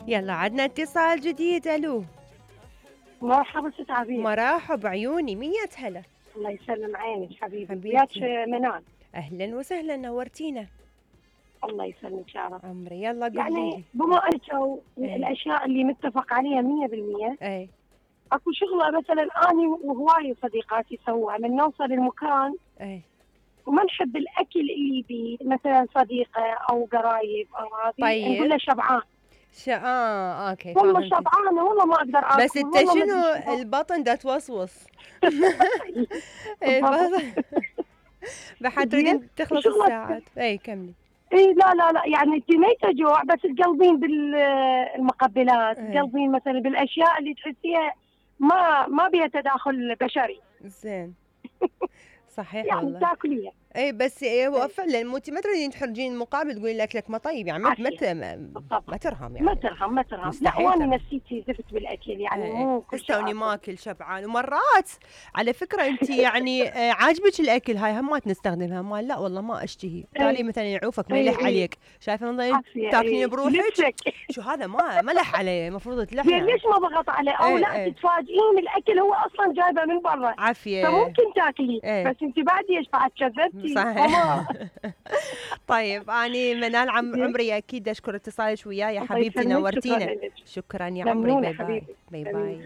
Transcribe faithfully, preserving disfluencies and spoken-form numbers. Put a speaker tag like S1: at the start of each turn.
S1: يلا عدنا اتصال جديد. الو
S2: مرحبا ست عبير.
S1: مرحب عيوني، مية هلا.
S2: الله يسلم عينك حبيبي.
S1: حبيبتي.
S2: وياك منال.
S1: اهلا وسهلا، نورتينا.
S2: الله يسلمك يا رب.
S1: عمري يلا قولي
S2: يعني
S1: لي.
S2: بما انه
S1: ايه.
S2: الاشياء اللي متفق عليها مية بالمية.
S1: اي
S2: اكو شغله مثلا اني وهواي صديقاتي سووها من نوصل المكان
S1: اي
S2: وما نحب الاكل اللي بي مثلا صديقه او قرايب او هذه.
S1: طيب.
S2: نقول له شبعان.
S1: ش... اه اوكي
S2: والله
S1: فهمتك.
S2: شبعانه والله ما اقدر اكل.
S1: بس انت شنو البطن دا توصوص. البطن بحد تريدين تخلص الساعات. اي كملي.
S2: اي لا لا لا يعني انت ما يتجوع بس تقلبين بالمقبلات، تقلبين مثلا بالاشياء اللي تحسيها ما ما بيها تداخل بشري.
S1: زين. صحيح
S2: يعني
S1: والله.
S2: تاكليها.
S1: اي بس إيه هو فعلا مو انت ما تريدين تحرجين المقابل تقولين الاكلك ما طيب، يعني ما ما, ما ترهم يعني.
S2: ما ترهم ما ترهم. لا وانا نفسيتي زفت بالاكل يعني ايه. مو كل شيء
S1: توني ماكل شبعان. ومرات على فكره انت يعني عاجبك الاكل هاي همات نستخدمها مال لا والله ما اشتهي. تالي مثلا يعوفك ما يلح عليك، شايفه نظام تاكلين بروحك. شو هذا ما ما لح عليه، المفروض تلح.
S2: ليش ما ضغط عليه او
S1: ايه
S2: لا
S1: ايه.
S2: تتفاجئين الاكل هو اصلا جايبه من برا
S1: عافيه
S2: فممكن تاكلي.
S1: ايه.
S2: بس انت بعد ايش بعد كذبتي.
S1: صحيح. طيب اني منال عم عمري اكيد اشكر اتصالك وياي يا حبيبتي، نورتينا. شكرا يا عمري. باي باي باي باي.